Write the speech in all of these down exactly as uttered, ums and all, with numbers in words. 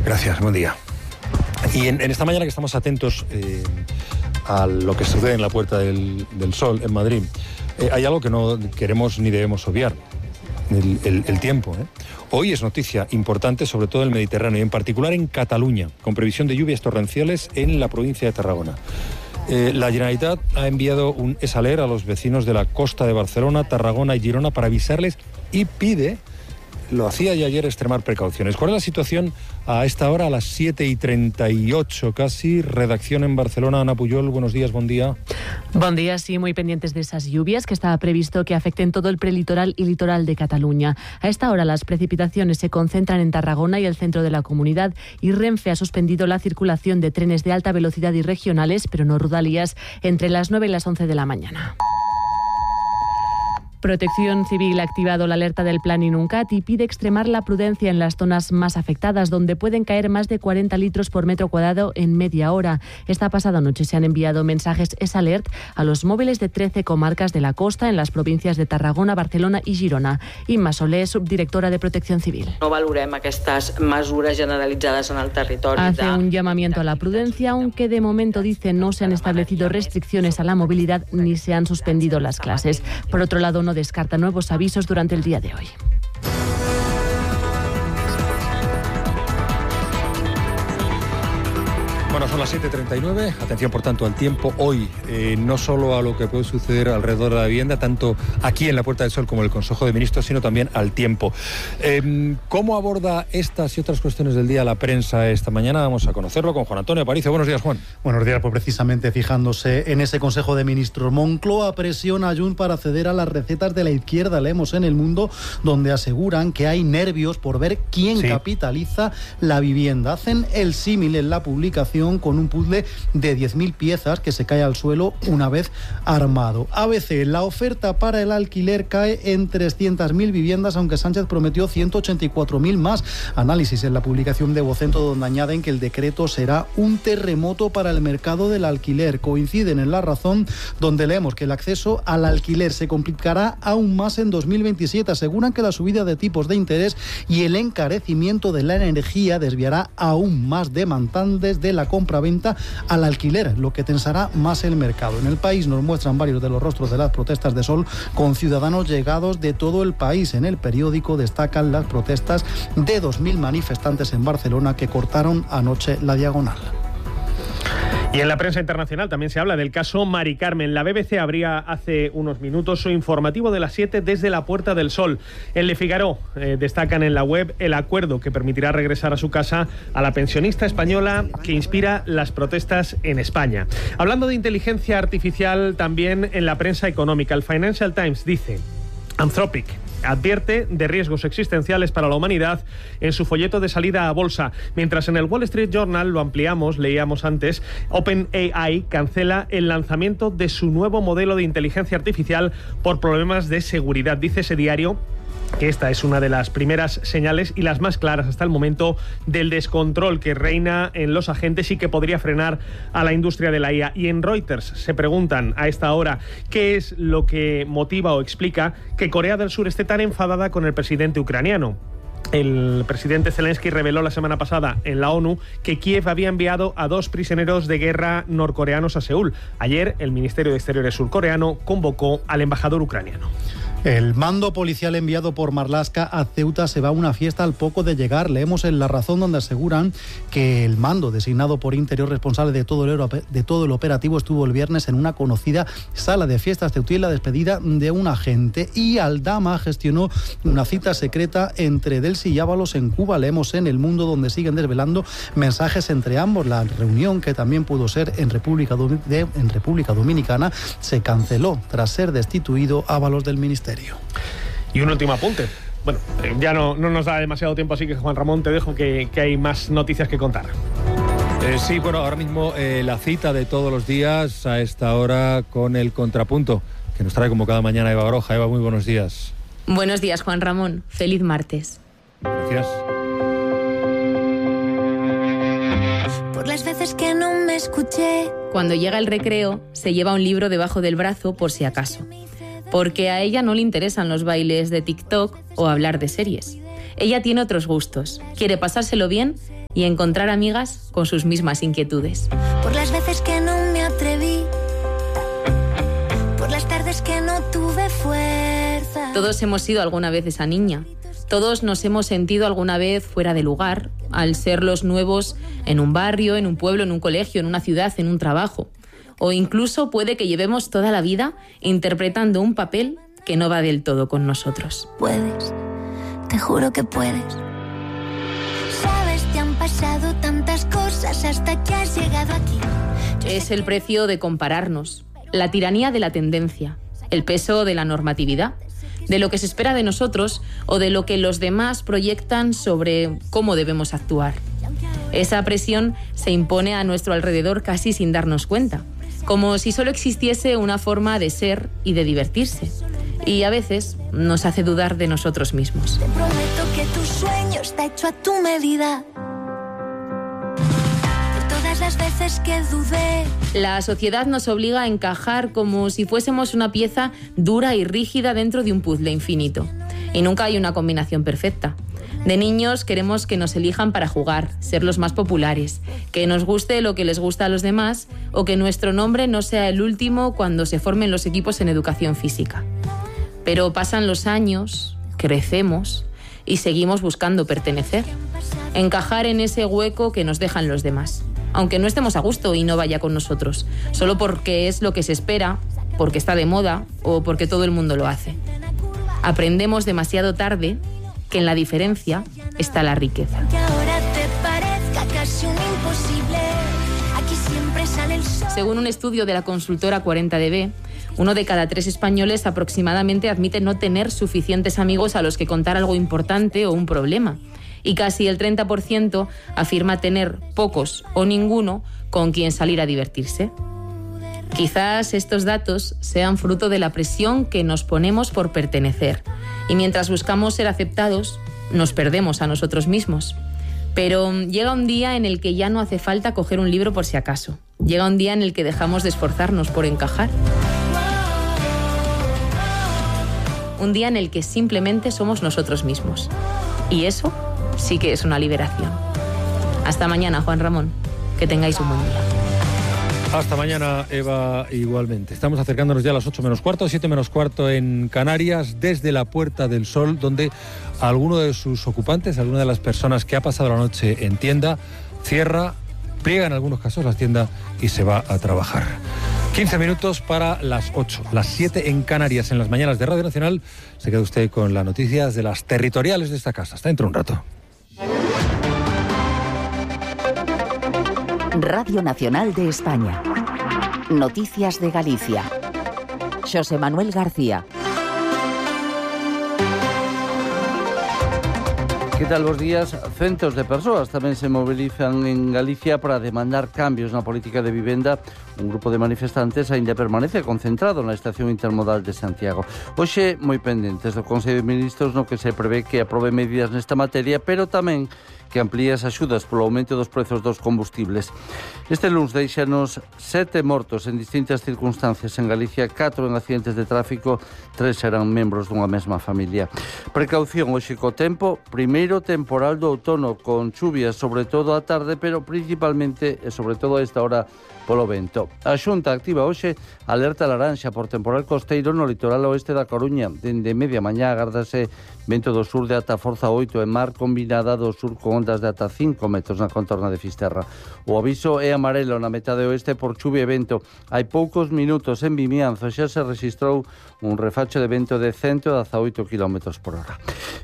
Gracias, buen día. Y en, en esta mañana que estamos atentos eh, a lo que sucede en la Puerta del, del Sol, en Madrid, eh, hay algo que no queremos ni debemos obviar, el, el, el tiempo. ¿eh? Hoy es noticia importante, sobre todo en el Mediterráneo, y en particular en Cataluña, con previsión de lluvias torrenciales en la provincia de Tarragona. Eh, la Generalitat ha enviado un esaler a los vecinos de la costa de Barcelona, Tarragona y Girona para avisarles y pide, lo hacía ya ayer, extremar precauciones. ¿Cuál es la situación a esta hora, a las siete y treinta y ocho casi? Redacción en Barcelona, Ana Pujol, buenos días, buen día. Buen día, sí, muy pendientes de esas lluvias que estaba previsto que afecten todo el prelitoral y litoral de Cataluña. A esta hora las precipitaciones se concentran en Tarragona y el centro de la comunidad, y Renfe ha suspendido la circulación de trenes de alta velocidad y regionales, pero no Rodalies, entre las nueve y las once de la mañana. Protección Civil ha activado la alerta del Plan Inuncat y pide extremar la prudencia en las zonas más afectadas, donde pueden caer más de cuarenta litros por metro cuadrado en media hora. Esta pasada noche se han enviado mensajes S-Alert a los móviles de trece comarcas de la costa en las provincias de Tarragona, Barcelona y Girona. Imma Soler, subdirectora de Protección Civil. No valorem aquestes mesures generalitzades en el territori. Hace un llamamiento a la prudencia, aunque de momento dice no se han establecido restricciones a la movilidad ni se han suspendido las clases. Por otro lado, no descarta nuevos avisos durante el día de hoy. Bueno, son las siete y treinta y nueve. Atención, por tanto, al tiempo. Hoy, eh, no solo a lo que puede suceder alrededor de la vivienda, tanto aquí en la Puerta del Sol como en el Consejo de Ministros, sino también al tiempo. Eh, ¿Cómo aborda estas y otras cuestiones del día la prensa esta mañana? Vamos a conocerlo con Juan Antonio Aparicio. Buenos días, Juan. Buenos días, pues precisamente fijándose en ese Consejo de Ministros. Moncloa presiona a Junts para ceder a las recetas de la izquierda, leemos en El Mundo, donde aseguran que hay nervios por ver quién sí. capitaliza la vivienda. Hacen el símil en la publicación con un puzzle de diez mil piezas que se cae al suelo una vez armado. A B C, la oferta para el alquiler cae en trescientas mil viviendas, aunque Sánchez prometió ciento ochenta y cuatro mil más. Análisis en la publicación de Vocento, donde añaden que el decreto será un terremoto para el mercado del alquiler. Coinciden en La Razón, donde leemos que el acceso al alquiler se complicará aún más en dos mil veintisiete. Aseguran que la subida de tipos de interés y el encarecimiento de la energía desviará aún más demandantes de la compra-venta al alquiler, lo que tensará más el mercado. En El País nos muestran varios de los rostros de las protestas de Sol, con ciudadanos llegados de todo el país. En el periódico destacan las protestas de dos mil manifestantes en Barcelona que cortaron anoche la diagonal. Y en la prensa internacional también se habla del caso Mari Carmen. La B B C abría hace unos minutos su informativo de las siete desde la Puerta del Sol. En Le Figaro eh, destacan en la web el acuerdo que permitirá regresar a su casa a la pensionista española que inspira las protestas en España. Hablando de inteligencia artificial, también en la prensa económica, el Financial Times dice: Anthropic advierte de riesgos existenciales para la humanidad en su folleto de salida a bolsa. Mientras en el Wall Street Journal, lo ampliamos, leíamos antes, OpenAI cancela el lanzamiento de su nuevo modelo de inteligencia artificial por problemas de seguridad. Dice ese diario que esta es una de las primeras señales y las más claras hasta el momento del descontrol que reina en los agentes y que podría frenar a la industria de la I A. Y en Reuters se preguntan a esta hora qué es lo que motiva o explica que Corea del Sur esté tan enfadada con el presidente ucraniano. El presidente Zelensky reveló la semana pasada en la ONU que Kiev había enviado a dos prisioneros de guerra norcoreanos a Seúl. Ayer el Ministerio de Exteriores surcoreano convocó al embajador ucraniano. El mando policial enviado por Marlaska a Ceuta se va a una fiesta al poco de llegar. Leemos en La Razón, donde aseguran que el mando designado por Interior, responsable de todo el, de todo el operativo, estuvo el viernes en una conocida sala de fiestas ceutí en la despedida de un agente. Y Aldama gestionó una cita secreta entre Delcy y Ábalos en Cuba. Leemos en El Mundo, donde siguen desvelando mensajes entre ambos. La reunión, que también pudo ser en República, de, en República Dominicana, se canceló tras ser destituido Ábalos del ministerio. Y un último apunte. Bueno, eh, ya no, no nos da demasiado tiempo, así que Juan Ramón, te dejo que, que hay más noticias que contar. Eh, sí, bueno, ahora mismo eh, la cita de todos los días a esta hora con el contrapunto, que nos trae como cada mañana Eva Baroja. Eva, muy buenos días. Buenos días, Juan Ramón. Feliz martes. Gracias. Por las veces que no me escuché. Cuando llega el recreo, se lleva un libro debajo del brazo por si acaso. Porque a ella no le interesan los bailes de TikTok o hablar de series. Ella tiene otros gustos. Quiere pasárselo bien y encontrar amigas con sus mismas inquietudes. Por las veces que no me atreví, por las tardes que no tuve fuerza. Todos hemos sido alguna vez esa niña. Todos nos hemos sentido alguna vez fuera de lugar, al ser los nuevos en un barrio, en un pueblo, en un colegio, en una ciudad, en un trabajo. O incluso puede que llevemos toda la vida interpretando un papel que no va del todo con nosotros. Puedes, te juro que puedes. Sabes, te han pasado tantas cosas hasta que has llegado aquí. Es el precio de compararnos, la tiranía de la tendencia, el peso de la normatividad, de lo que se espera de nosotros o de lo que los demás proyectan sobre cómo debemos actuar. Esa presión se impone a nuestro alrededor casi sin darnos cuenta, como si solo existiese una forma de ser y de divertirse. Y a veces nos hace dudar de nosotros mismos. Te prometo que tu sueño está hecho a tu medida. Por todas las veces que dudé. La sociedad nos obliga a encajar como si fuésemos una pieza dura y rígida dentro de un puzzle infinito. Y nunca hay una combinación perfecta. De niños queremos que nos elijan para jugar, ser los más populares, que nos guste lo que les gusta a los demás o que nuestro nombre no sea el último cuando se formen los equipos en educación física. Pero pasan los años, crecemos y seguimos buscando pertenecer, encajar en ese hueco que nos dejan los demás, aunque no estemos a gusto y no vaya con nosotros, solo porque es lo que se espera, porque está de moda o porque todo el mundo lo hace. Aprendemos demasiado tarde que en la diferencia está la riqueza. Que ahora te parezca casi un imposible. Aquí siempre sale el sol. Según un estudio de la consultora cuarenta D B, uno de cada tres españoles aproximadamente admite no tener suficientes amigos a los que contar algo importante o un problema. Y casi el treinta por ciento afirma tener pocos o ninguno con quien salir a divertirse. Quizás estos datos sean fruto de la presión que nos ponemos por pertenecer. Y mientras buscamos ser aceptados, nos perdemos a nosotros mismos. Pero llega un día en el que ya no hace falta coger un libro por si acaso. Llega un día en el que dejamos de esforzarnos por encajar. Un día en el que simplemente somos nosotros mismos. Y eso sí que es una liberación. Hasta mañana, Juan Ramón. Que tengáis un buen día. Hasta mañana, Eva, igualmente. Estamos acercándonos ya a las ocho menos cuarto, siete menos cuarto en Canarias, desde la Puerta del Sol, donde alguno de sus ocupantes, alguna de las personas que ha pasado la noche en tienda, cierra, pliega en algunos casos la tienda y se va a trabajar. quince minutos para las ocho, las siete en Canarias, en las mañanas de Radio Nacional. Se queda usted con las noticias de las territoriales de esta casa. Hasta dentro de un rato. Radio Nacional de España. Noticias de Galicia. Xosé Manuel García. Que tal, bos días? Centos de persoas tamén se mobilizan en Galicia para demandar cambios na política de vivenda. Un grupo de manifestantes aínda permanece concentrado na estación intermodal de Santiago. Hoxe moi pendentes do Consello de Ministros, no que se prevé que aprobe medidas nesta materia, pero tamén que amplía as axudas polo aumento dos prezos dos combustibles. Este luns deixanos sete mortos en distintas circunstancias en Galicia, catro en accidentes de tráfico, tres eran membros dunha mesma familia. Precaución hoxe co tempo, primeiro temporal do outono con chuvias, sobre todo a tarde, pero principalmente e sobre todo a esta hora polo vento. A Xunta activa hoxe alerta laranxa por temporal costeiro no litoral oeste da Coruña. Dende media mañá agárdase vento do sur de ata forza oito e mar combinada do sur con ondas de ata cinco metros na contorna de Fisterra. O aviso é amarelo na metade oeste por chuvia e vento. Hai poucos minutos en Vimianzo xa se registrou un refacho de vento de ciento dezaoito kilómetros por hora.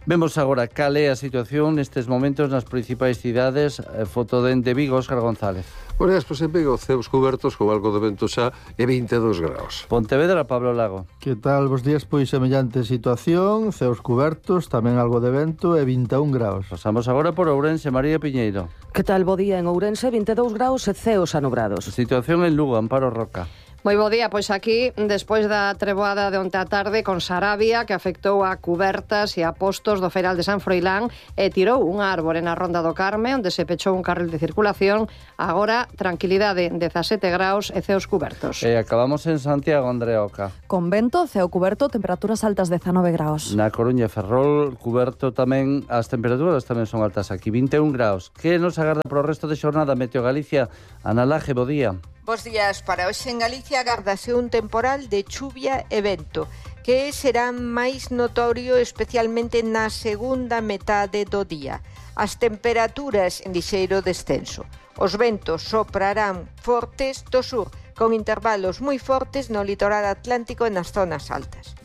Vemos agora cal é a situación nestes momentos nas principais cidades. Foto dende Vigo, Óscar González. Bueno, despois en Vigo, ceos cubertos con algo de vento xa e vinte e dous graus. Pontevedra, Pablo Lago. Que tal, bos días? Pois semellante situación, ceos cubertos, tamén algo de vento e vinte e un graus. Pasamos agora por Ourense, María Piñeiro. Que tal, bo día? En Ourense, vinte e dous graus e ceos anubrados. Situación en Lugo, Amparo Roca. Moi bo día, pois aquí, despois da treboada de onte á tarde con Sarabia, que afectou a cubertas e a postos do Feiral de San Froilán e tirou unha árbore na Ronda do Carme, onde se pechou un carril de circulación. Agora, tranquilidade, dezasete graus e ceos cubertos. E acabamos en Santiago, Andrea Oca. Con vento, ceo cuberto, temperaturas altas dezanove graus. Na Coruña e Ferrol, cuberto tamén, as temperaturas tamén son altas aquí, vinte e un graus. Que nos agarda pro resto de xornada? Meteo Galicia, Ana Laje, bo día. Bos días. Para hoxe en Galicia agárdase un temporal de chuvia e vento, que será máis notorio especialmente na segunda metade do día. As temperaturas en lixeiro descenso. Os ventos soprarán fortes do sur, con intervalos moi fortes no litoral atlántico e nas zonas altas.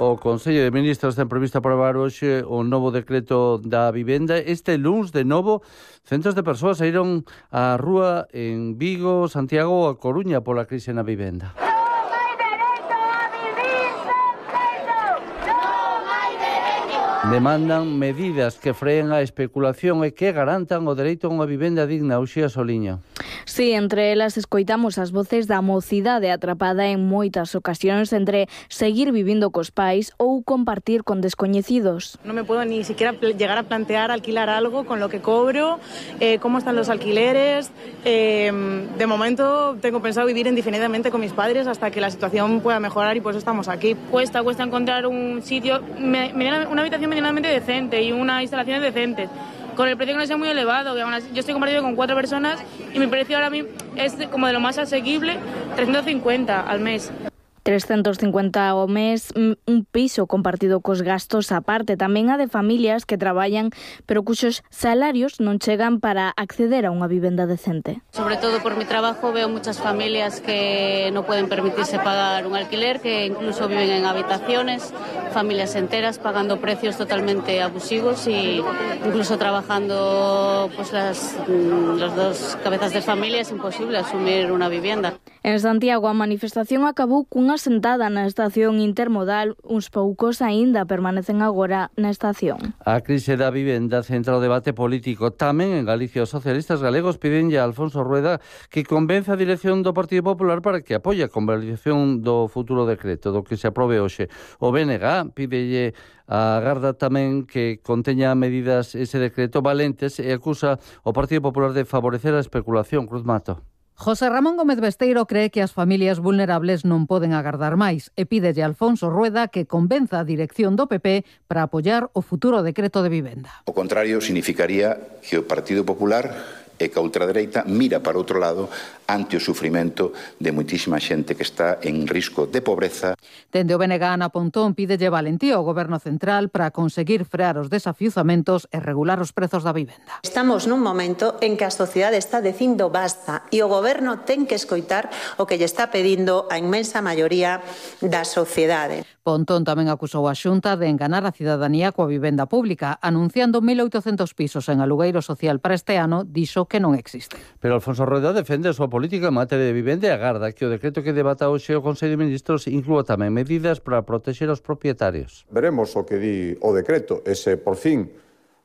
O Consello de Ministros ten previsto aprobar hoxe o novo decreto da vivenda. Este luns, de novo, centos de persoas saíron á rúa en Vigo, Santiago ou a Coruña pola crise na vivenda. Demandan medidas que freen a especulación e que garantan o dereito a unha vivenda digna. Uxía Soliño. Sí, entre elas escoitamos as voces da mocidade atrapada en moitas ocasións entre seguir vivindo cos pais ou compartir con descoñecidos. No me puedo ni siquiera llegar a plantear alquilar algo con lo que cobro, eh, cómo están los alquileres. Eh, de momento tengo pensado vivir indefinidamente con mis padres hasta que la situación pueda mejorar y por eso estamos aquí. Cuesta, cuesta encontrar un sitio, una habitación medianamente decente y unas instalaciones decentes, con el precio que no sea muy elevado. Yo estoy compartido con cuatro personas y mi precio ahora mismo es como de lo más asequible, trescientos cincuenta al mes. trescentos cincuenta ao mes, un piso compartido cos gastos aparte, tamén a de familias que traballan pero cuxos salarios non chegan para acceder a unha vivenda decente. Sobre todo por mi trabajo veo muchas familias que no pueden permitirse pagar un alquiler, que incluso viven en habitaciones, familias enteras pagando precios totalmente abusivos y incluso trabajando pues las los dos cabezas de familia es imposible asumir una vivienda. En Santiago a manifestación acabou cunha sentada na estación intermodal, uns poucos aínda permanecen agora na estación. A crise da vivenda centra o debate político. Tamén en Galicia os socialistas galegos piden a Alfonso Rueda que convenza a dirección do Partido Popular para que apoie a convalidación do futuro decreto, do que se aprobe hoxe. O B N G pídelle a Garda tamén que conteña medidas ese decreto valentes e acusa o Partido Popular de favorecer a especulación. Cruz Mato. José Ramón Gómez Besteiro cree que as familias vulnerables non poden agardar máis e pídelle a Alfonso Rueda que convenza a dirección do P P para apoiar o futuro decreto de vivenda. O contrario significaría que o Partido Popular e que a ultradereita mira para outro lado ante o sufrimento de moitísima xente que está en risco de pobreza. Dende o B N G Ana Pontón pídelle valentía ao Goberno Central para conseguir frear os desafiuzamentos e regular os prezos da vivenda. Estamos nun momento en que a sociedade está dicindo basta e o Goberno ten que escoitar o que lle está pedindo a inmensa maioría da sociedade. Pontón tamén acusou a Xunta de enganar a cidadanía coa vivenda pública, anunciando mil oitocentos pisos en alugueiro social para este ano, dixo que non existe. Pero Alfonso Rueda defende a súa política en materia de vivenda e agarda que o decreto que debata hoxe o Consello de Ministros inclúa tamén medidas para protexer os propietarios. Veremos o que di o decreto, ese por fin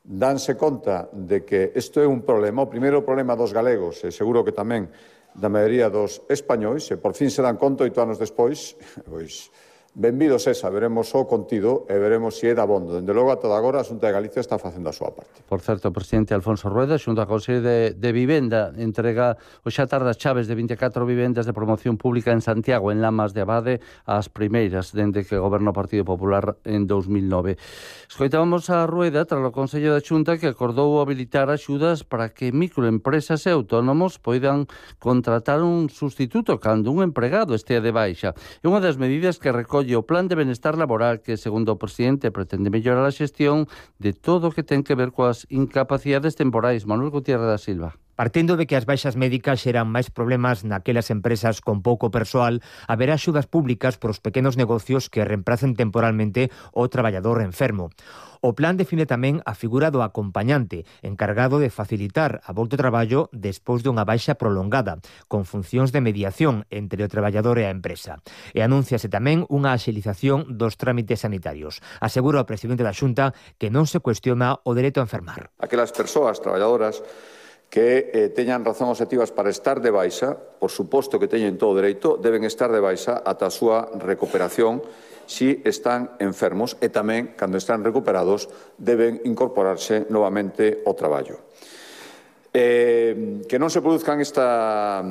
danse conta de que isto é un problema, o primeiro problema dos galegos, e seguro que tamén da maioría dos españois, e por fin se dan conta oito anos despois, pois benvidos esa, veremos o contido e veremos se é dabondo. Dende logo, a toda agora, a Xunta de Galicia está facendo a súa parte. Por certo, o presidente Alfonso Rueda, xunto ao Consello de, de Vivenda, entrega o xa tarde as chaves de vinte e catro vivendas de promoción pública en Santiago, en Lamas de Abade, as primeiras, dende que goberna o Partido Popular en dos mil nove. Escoitábamos a Rueda tras o Consello da Xunta que acordou habilitar axudas para que microempresas e autónomos poidan contratar un sustituto cando un empregado estea de baixa. É unha das medidas que recolle o Plan de Benestar Laboral que, segundo o presidente, pretende mellorar a xestión de todo o que ten que ver coas incapacidades temporais. Manuel Gutiérrez da Silva. Partindo de que as baixas médicas xeran máis problemas naquelas empresas con pouco persoal, haberá axudas públicas para os pequenos negocios que reemplacen temporalmente o traballador enfermo. O plan define tamén a figura do acompañante, encargado de facilitar a volta ao traballo despois dunha baixa prolongada, con funcións de mediación entre o traballador e a empresa. E anúnciase tamén unha axilización dos trámites sanitarios. Asegura o presidente da Xunta que non se cuestiona o dereito a enfermar. Aquelas persoas traballadoras que eh, teñan razón objetivas para estar de baixa, por suposto que teñen todo o dereito, deben estar de baixa ata a súa recuperación si están enfermos e tamén, cando están recuperados, deben incorporarse novamente ao traballo. Eh, que non se produzcan esta,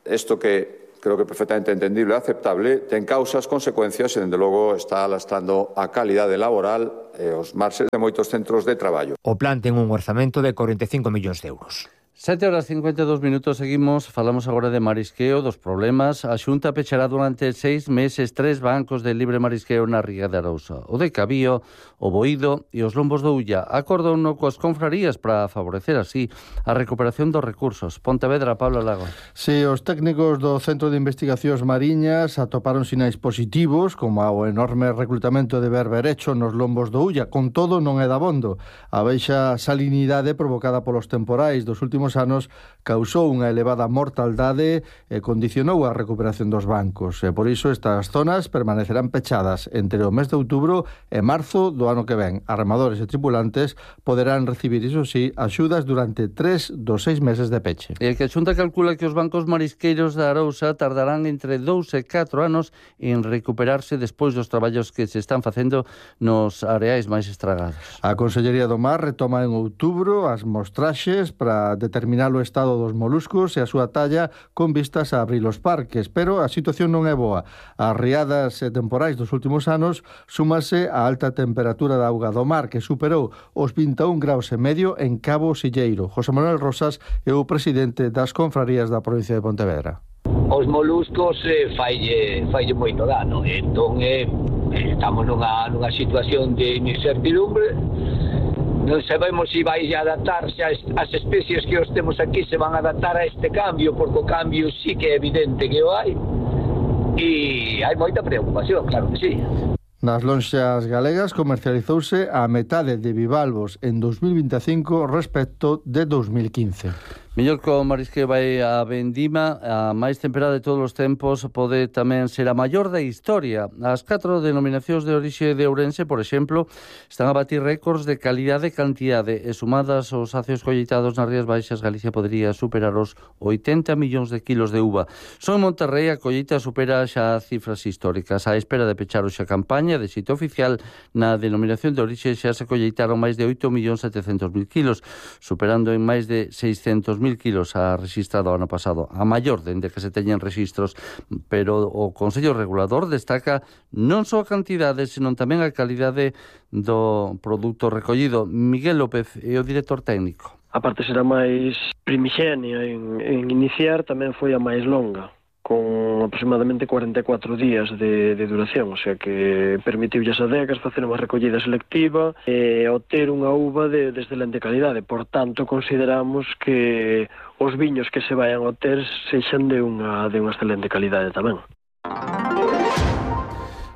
isto que creo que perfectamente entendible e aceptable, ten causas, consecuencias e, dende logo, está lastrando a calidade laboral e os marxes de moitos centros de traballo. O plan ten un orzamento de cuarenta e cinco millóns de euros. sete horas cincuenta e dous minutos, seguimos, falamos agora de marisqueo, dos problemas. A Xunta pechará durante seis meses tres bancos de libre marisqueo na Ría de Arousa, o de Cabío, o Boído e os Lombos do Ulla. Acordou no coas confrarías para favorecer así a recuperación dos recursos. Pontevedra, Pablo Lago. Si, os técnicos do Centro de Investigacións Mariñas atoparon sinais positivos, como o enorme reclutamento de berberecho nos Lombos do Ulla. Con todo, non é dabondo. A baixa salinidade provocada polos temporais dos últimos anos causou unha elevada mortaldade e condicionou a recuperación dos bancos. E por iso estas zonas permanecerán pechadas entre o mes de outubro e marzo do ano que ven. Armadores e tripulantes poderán recibir, iso sí, axudas durante tres dos seis meses de peche. E que a Xunta calcula que os bancos marisqueiros da Arousa tardarán entre dous e catro anos en recuperarse despois dos traballos que se están facendo nos areais máis estragados. A Consellería do Mar retoma en outubro as mostraxes para determinar o estado dos moluscos e a súa talla con vistas a abrir os parques, pero a situación non é boa. As riadas e temporais dos últimos anos súmase a alta temperatura da auga do mar, que superou os vinte e un graus e medio en Cabo Silleiro. José Manuel Rosas é o presidente das confrarías da provincia de Pontevedra. Os moluscos eh, faille, faille moito dano, entón eh, estamos nunha, nunha situación de incertidumbre. Non sabemos se vai adaptarse as especies que os temos aquí, se van a adaptar a este cambio, porque o cambio sí que é evidente que o hai, e hai moita preocupación, claro que sí. Nas lonxas galegas comercializouse a metade de bivalvos en dos mil vinte e cinco respecto de dos mil quince. Mellor que o marisqueo vai a vendima, a máis temperada de todos os tempos, pode tamén ser a maior da historia. As catro denominacións de orixe de Ourense, por exemplo, están a batir récords de calidade e cantidade, e sumadas aos acios colleitados nas Rías Baixas, Galicia podría superar os oitenta millóns de kilos de uva. Só en Monterrey a colleita supera xa cifras históricas. A espera de pechar hoxe a campaña de sitio oficial, na denominación de orixe xa se colleitaron máis de oito millóns setecentos mil kilos, superando en máis de seiscentos mil kilos a registrado ano pasado, a maior dende que se teñen registros, pero o Consello Regulador destaca non só a cantidade, senón tamén a calidade do produto recollido. Miguel López é o director técnico. A parte será máis primixenia en, en iniciar, tamén foi a máis longa, con aproximadamente cuarenta e catro días de, de duración, o sea que permitiulle as adegas facer unha recollida selectiva e obter unha uva de, de excelente calidade. Por tanto, consideramos que os viños que se vayan a obter sexan de unha, de unha excelente calidade tamén.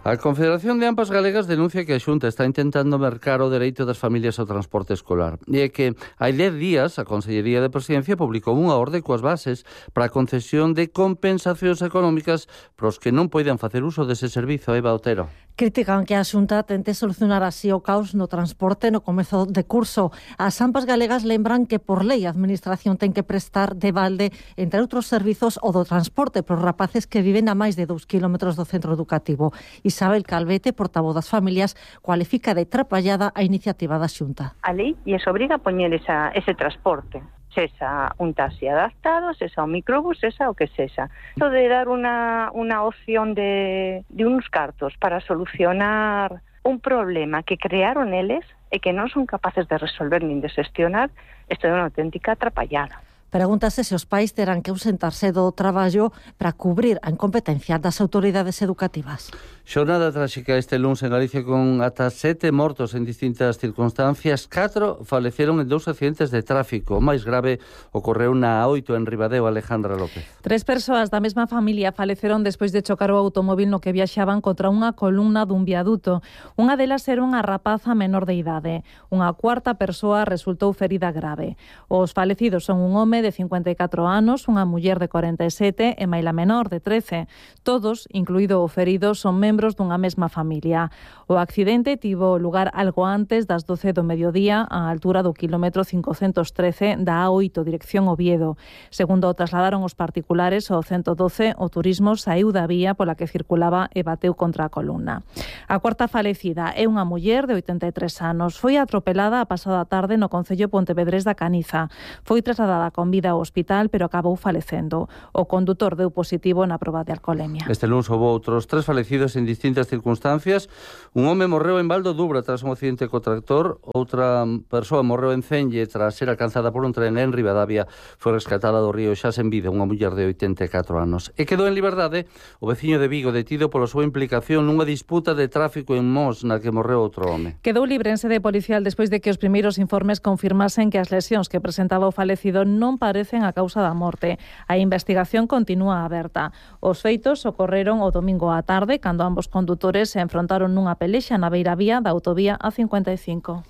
A Confederación de Ampas Galegas denuncia que a Xunta está intentando mercar o dereito das familias ao transporte escolar. E é que hai dez días a Consellería de Presidencia publicou unha orde coas bases para a concesión de compensacións económicas para os que non poidan facer uso dese servizo. Eva Otero. Critican que a Xunta tente solucionar así o caos no transporte no comezo de curso. As Ampas Galegas lembran que por lei a Administración ten que prestar de balde, entre outros servizos, o do transporte para os rapaces que viven a máis de dous kilómetros do centro educativo. Isabel Calvete, portavoz das familias, cualifica de trapallada a iniciativa da Xunta. A lei lles obriga a poñer esa, ese transporte. Sesa un taxi adaptado, sesa un microbús, sesa o que sesa. Esto de dar una, una opción de, de unos cartos para solucionar un problema que crearon eles e que non son capaces de resolver nin de xestionar, isto é unha auténtica atrapallada. Pregúntase se os pais terán que ausentarse do traballo para cubrir a incompetencia das autoridades educativas. Xornada tráxica este luns en Galicia con ata sete mortos en distintas circunstancias. Catro faleceron en dous accidentes de tráfico. O máis grave ocorreu na A oito en Ribadeo. Alejandra López. Tres persoas da mesma familia faleceron despois de chocar o automóvil no que viaxaban contra unha columna dun viaduto. Unha delas era unha rapaza menor de idade. Unha cuarta persoa resultou ferida grave. Os falecidos son un home de cincuenta e catro anos, unha muller de corenta e sete e maila menor de trece. Todos, incluído o ferido, son membros membros dunha mesma familia. O accidente tivo lugar algo antes das doce do mediodía á altura do quilómetro cincocentos trece da A oito, dirección Oviedo. Segundo o trasladaron os particulares ao ciento doce, o turismo saíu da vía pola que circulaba e bateu contra a columna. A cuarta falecida é unha muller de oitenta e tres anos. Foi atropelada a pasada tarde no concello Pontevedrés da Caniza. Foi trasladada con vida ao hospital, pero acabou falecendo. O condutor deu positivo na proba de alcoholemia. Este lunes houve outros tres falecidos en distintas circunstancias. Un home morreu en Valdo Dubra tras un accidente co tractor. Outra persoa morreu en Celle tras ser alcanzada por un tren en Ribadavia. Foi rescatada do río xa sen vida unha muller de oitenta e catro anos. E quedou en liberdade o veciño de Vigo detido pola súa implicación nunha disputa de tráfico en Mos na que morreu outro home. Quedou libre en sede policial despois de que os primeiros informes confirmasen que as lesións que presentaba o falecido non parecen a causa da morte. A investigación continúa aberta. Os feitos ocorreron o domingo á tarde cando ambos condutores se enfrontaron nunha pelexa na beiravía da autovía A cincuenta e cinco.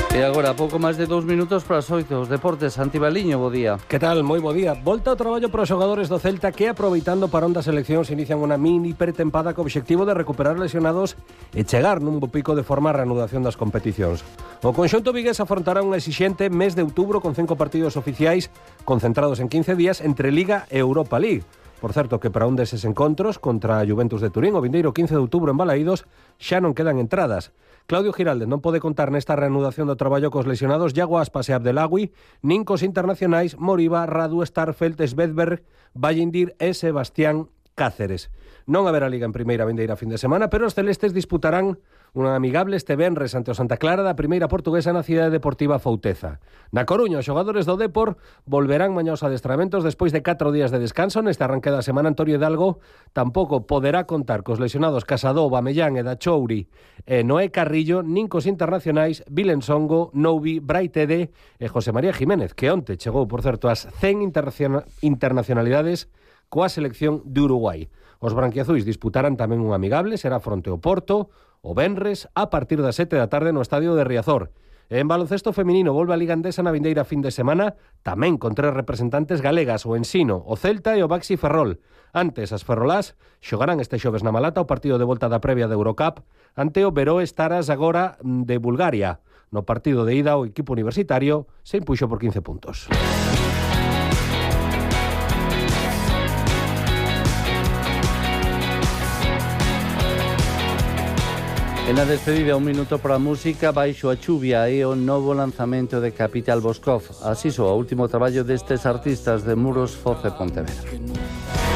E agora, pouco máis de dous minutos para as oito. Os deportes, Santi Baliño, bo día. Que tal? Moi bo día. Volta ao traballo para os xogadores do Celta que, aproveitando para ondas eleccións, inician unha mini pretempada co obxectivo de recuperar lesionados e chegar nun bo pico de forma a reanudación das competicións. O conxunto vigués afrontará un exixente mes de outubro con cinco partidos oficiais concentrados en quince días entre Liga e Europa League. Por certo, que para un deses encontros contra a Juventus de Turín o vindeiro quince de outubro en Balaídos xa non quedan entradas. Claudio Giralde non pode contar nesta reanudación do traballo cos lesionados Iago Aspas e Abdelagui, nin cos internacionais Moriba, Radu, Starfelt, Svedberg, Vallindir e Sebastián Cáceres. Non haberá Liga en primeira vindeira fin de semana, pero os celestes disputarán unha amigable este venres ante o Santa Clara da primeira portuguesa na cidade deportiva Fouteza. Na Coruña, os xogadores do Depor volverán mañá aos adestramentos despois de catro días de descanso. Neste arranque da semana, Antonio Hidalgo tampouco poderá contar cos lesionados Casadó, Bamellán e Dachouri e Noé Carrillo, nin cos internacionais Vilensongo, Noubi, Braitede e José María Jiménez, que onte chegou, por certo, ás cen internacionalidades coa selección de Uruguai. Os branquiazuis disputarán tamén un amigable, será fronte ao Porto, o venres, a partir das sete da tarde no estadio de Riazor. E en baloncesto feminino volve a Liga Endesa na vindeira fin de semana, tamén con tres representantes galegas, o Ensino, o Celta e o Baxi Ferrol. Antes, as ferrolás xogarán este xoves na Malata o partido de volta da previa de Eurocup ante o Veró Staras agora de Bulgaria. No partido de ida, o equipo universitario se impuxo por quince puntos. En a despedida, un minuto para a música, Baixo a chuvia e o novo lanzamento de Capital Boscov. Así soa o último traballo destes artistas de Muros Foce Pontevedra.